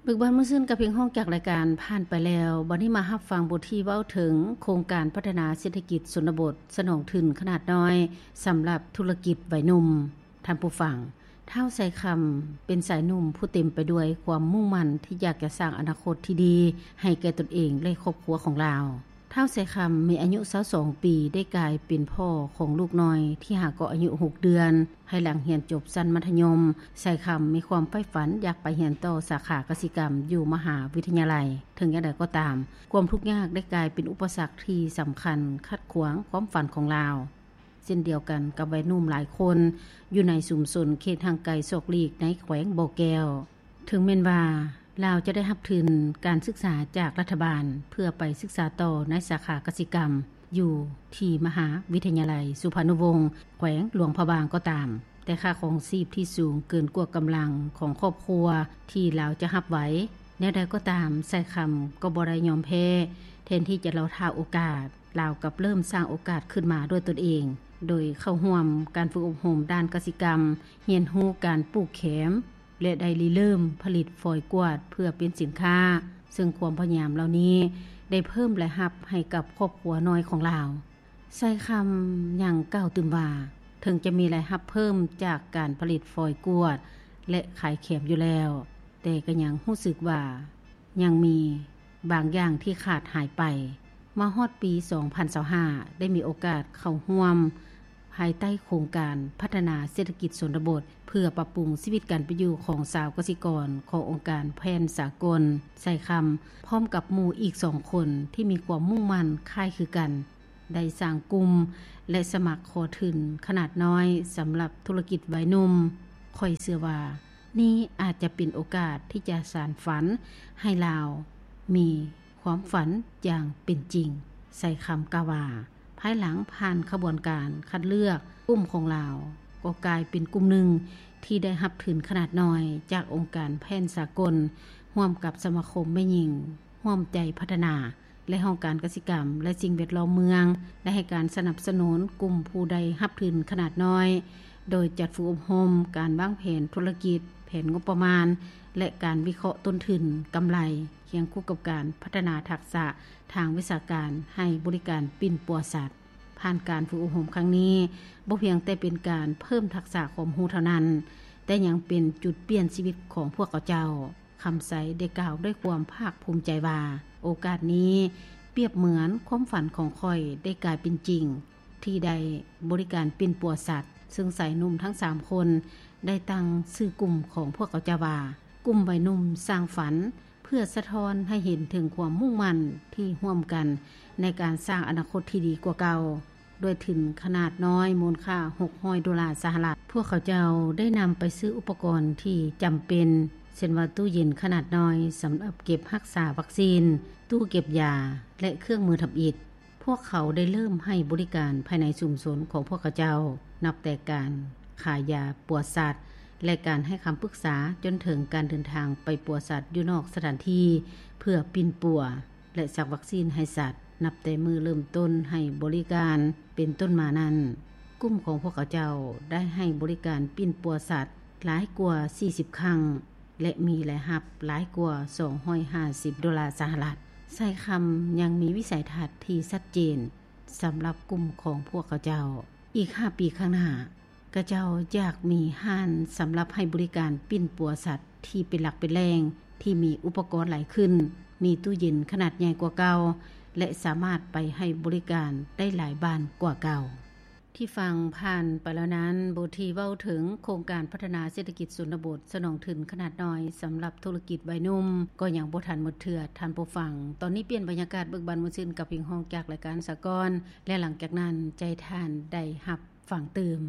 ເບີກບານມ່ວນຊື່ນກັບເພງຮ້ອງຈາກລາຍການຜ່ານໄປແລ້ວ, ບັດນີ້ມາຮັບຟັງບົດທີ່ເວົ້າເຖິງໂຄງການພັດທະນາເສດຖະກິດຊົນນະບົດສະໜອງທຶນຂະໜາດນ້ອຍສຳລັບທຸລະກິດໄວໜຸ່ມ. ທ່ານຜູ້ຟັງ, ທ້າວ ໄຊຄຳ ເປັນຊາຍໜຸ່ມຜູ້ເຕັມໄປດ້ວຍຄວາມມຸ່ງໝັ້ນທີ່ຢາກຈະສ້າງອະນາຄົດທີ່ດີໃຫ້ແກ່ຕົນເອງ ແລະ ຄອບຄົວຂອງລາວ. ທ້າວ ໄຊຄຳ ມີອາຍຸຊາວສອງປີ ໄດ້ກາຍເປັນພໍ່ຂອງລູກນ້ອຍທີ່ຫາກໍອາຍຸຫົກເດືອນ. ພາຍຫຼັງຮຽນຈົບຊັ້ນມັດທະຍົມ, ໄຊຄຳມີຄວາມໃຝ່ຝັນຢາກໄປຮຽນຕໍ່ສາຂາກະສິກຳຢູ່ມະຫາວິທະຍາໄລ. ເຖິງຢ່າງໃດກໍຕາມ, ຄວາມທຸກຍາກໄດ້ກາຍເປັນອຸປະສັກທີ່ສຳຄັນຂັດຂວາງຄວາມຝັນຂອງລາວ. ເຊັ່ນດຽວກັນກັບໄວໜຸ່ມຫຼາຍຄົນຢູ່ໃນຊຸມຊົນເຂດຫ່າງໄກສອກຫຼີກໃນແຂວງບໍ່ແກ້ວ, ເຖິງແມ່ນວ່າລາວຈະໄດ້ຮັບທຶນການສຶກສາຈາກລັດຖະບານເພື່ອໄປສຶກສາຕໍ່ໃນສາຂາກະສິກຳຢູ່ທີ່ມະຫາວິທະຍາໄລສຸພານຸວົງ ແຂວງຫຼວງພະບາງກໍຕາມ, ແຕ່ຄ່າຄອງຊີບທີ່ສູງເກີນກວ່າກຳລັງຂອງຄອບຄົວທີ່ລາວຈະຮັບໄຫວ. ແນວໃດກໍຕາມ, ໄຊຄຳກໍບໍ່ໄດ້ຍອມແພ້, ແທນທີ່ຈະລໍຖ້າໂອກາດ, ລາວກັບເລີ່ມສ້າງໂອກາດຂຶ້ນມາດ້ວຍຕົນເອງ, ໂດຍເຂົ້າຮ່ວມການຝຶກອົບຮົມດ້ານກະສິກຳ, ຮຽນຮູ້ການປູກແຂມ ແລະ ໄດ້ລິເລີ່ມຜະລິດຟອຍກວດເພື່ອເປັນສິນຄ້າ, ເຊິ່ງຄວາມພະຍາຍາມເຫຼົ່ານີ້ໄດ້ເພີ່ມລາຍຮັບໃຫ້ກັບຄອບຄົວນ້ອຍຂອງລາວ. ໄຊຄຳຍັງກ່າວຕື່ມວ່າ, ເຖິງຈະມີລາຍຮັບເພີ່ມຈາກການຜະລິດຟອຍກວດ ແລະ ຂາຍແຂມຢູ່ແລ້ວ, ແຕ່ກໍຍັງຮູ້ສຶກວ່າຍັງມີບາງຢ່າງທີ່ຂາດຫາຍໄປ. ມາຮອດປີສອງພັນຊາວຫ້າ ໄດ້ມີໂອກາດເຂົ້າຮ່ວມພາຍໃຕ້ໂຄງການພັດທະນາເສດຖະກິດຊົນນະບົດ ເພື່ອປັບປຸງຊີວິດການເປັນຢູ່ຂອງຊາວກະສິກອນຂອງອົງການແຜນສາກົນ. ໄຊຄຳ ພ້ອມກັບໝູ່ອີກສອງຄົນທີ່ມີຄວາມມຸ່ງໝັ້ນຄ້າຍຄືກັນ, ໄດ້ສ້າງກຸ່ມ ແລະ ສະໝັກຂໍທຶນຂະໜາດນ້ອຍສຳລັບທຸລະກິດໄວໜຸ່ມ. ຂ້ອຍເຊື່ອວ່ານີ້ອາດຈະເປັນໂອກາດທີ່ຈະສານຝັນໃຫ້ລາວມີຄວາມຝັນຢ່າງເປັນຈິງ, ໄຊຄຳກ່າວວ່າ. ພາຍຫຼັງຜ່ານຂະບວນການຄັດເລືອກ, ກຸ່ມຂອງລາວກໍກາຍເປັນກຸ່ມໜຶ່ງທີ່ໄດ້ຮັບທຶນຂະໜາດນ້ອຍຈາກອົງການແຜນສາກົນ ຮ່ວມກັບສະມາຄົມແມ່ຍິງຮ່ວມໃຈພັດທະນາ ແລະ ຫ້ອງການກະສິກຳ ແລະ ສິ່ງແວດລ້ອມເມືອງ ໄດ້ໃຫ້ການສະໜັບສະໜູນກຸ່ມຜູ້ໄດ້ຮັບທຶນຂະໜາດນ້ອຍ ໂດຍຈັດຝຶກອົບຮົມການວາງແຜນທຸລະກິດ, ແຜນງົບປະມານ ແລະ ການວິເຄາະຕົ້ນທຶນ, ກຳໄລ, ຄຽງຄູ່ກັບການພັດທະນາທັກສະທາງວິຊາການໃຫ້ບໍລິການປິ່ນປົວສັດ. ຜ່ານການຝຶກອົບຮົມຄັ້ງນີ້, ບໍ່ພຽງແຕ່ເປັນການເພີ່ມທັກສະຄວາມຮູ້ເທົ່ານັ້ນ, ແຕ່ຍັງເປັນຈຸດປ່ຽນຊີວິດຂອງພວກເຂົາເຈົ້າ. ຄຳໄຊໄດ້ກ່າວດ້ວຍຄວາມພາກພູມໃຈວ່າ, ໂອກາດນີ້ປຽບເໝືອນຄວາມຝັນຂອງຂ້ອຍໄດ້ກາຍເປັນຈິງ, ທີ່ໄດ້ບໍລິການປິ່ນປົວສັດ, ເຊິ່ງຊາຍໜຸ່ມທັງສາມຄົນໄດ້ຕັ້ງຊື່ກຸ່ມຂອງພວກເຂົາເຈົ້າວ່າ ກຸ່ມໄວໜຸ່ມສ້າງຝັນ, ເພື່ອສະທ້ອນໃຫ້ເຫັນເຖິງຄວາມມຸ່ງໝັ້ນທີ່ຮ່ວມກັນໃນການສ້າງອະນາຄົດທີ່ດີກວ່າເກົ່າ. ດ້ວຍທຶນຂະໜາດນ້ອຍມູນຄ່າຫົກຮ້ອຍໂດລາສະຫະລັດ, ພວກເຂົາເຈົ້າໄດ້ນຳໄປຊື້ອຸປະກອນທີ່ຈຳເປັນ, ເຊັ່ນວ່າຕູ້ເຢັນຂະໜາດນ້ອຍສຳລັບເກັບຮັກສາວັກຊີນ, ຕູ້ເກັບຢາ ແລະ ເຄື່ອງມືທຳອິດ. ພວກເຂົາໄດ້ເລີ່ມໃຫ້ບໍລິການພາຍໃນຊຸມຊົນຂອງພວກເຂົາເຈົ້າ, ນັບແຕ່ການຂາຍຢາປົວສັດ ແລະ ການໃຫ້ຄຳປຶກສາ, ຈົນເຖິງການເດີນທາງໄປປົວສັດຢູ່ນອກສະຖານທີ່ ເພື່ອປິ່ນປົວ ແລະ ສັກວັກຊີນໃຫ້ສັດ. ນັບແຕ່ມື້ເລີ່ມຕົ້ນໃຫ້ບໍລິການເປັນຕົ້ນມານັ້ນ, ກຸ່ມຂອງພວກເຂົາເຈົ້າໄດ້ໃຫ້ບໍລິການປິ່ນປົວສັດຫຼາຍກວ່າສີ່ສິບຄັ້ງ ແລະ ມີລາຍຮັບຫຼາຍກວ່າສອງຮ້ອຍຫ້າສິບໂດລາສະຫະລັດ. ໄຊຄຳຍັງມີວິໄສທັດທີ່ຊັດເຈນສຳລັບກຸ່ມຂອງພວກເຂົາເຈົ້າ. ອີກຫ້າປີຂ້າງໜ້າ, ຂະເຈົ້າຢາກມີຮ້ານສຳລັບໃຫ້ບໍລິການປິ່ນປົວສັດທີ່ເປັນຫຼັກເປັນແຫຼ່ງ, ທີ່ມີອຸປະກອນຫຼາຍຂຶ້ນ, ມີຕູ້ເຢັນຂະໜາດໃຫຍ່ກວ່າເກົ່າ ແລະ ສາມາດໄປໃຫ້ບໍລິການໄດ້ຫຼາຍບ້ານກວ່າເກົ່າ. ທີ່ຟັງຜ່ານໄປແລ້ວນັ້ນ, ບົດທີ່ເວົ້າເຖິງໂຄງການພັດທະນາເສດຖະກິດຊົນນະບົດສະໜອງທຶນຂະໜາດນ້ອຍສຳລັບທຸລະກິດໄວໜຸ່ມ ກໍຍັງບໍ່ທັນໝົດເທື່ອ, ທ່ານຜູ້ຟັງ. ຕອນນີ້ປ່ຽນບັນຍາກາດເບີກບານມ່ວນຊື່ນກັບເພງຮ້ອງຈາກລາຍການສາກອນ ແລະ ຫຼັງຈາກນັ້ນຈະໃຫ້ທ່ານໄດ້ຮັບ ຟັງຕື່ມ.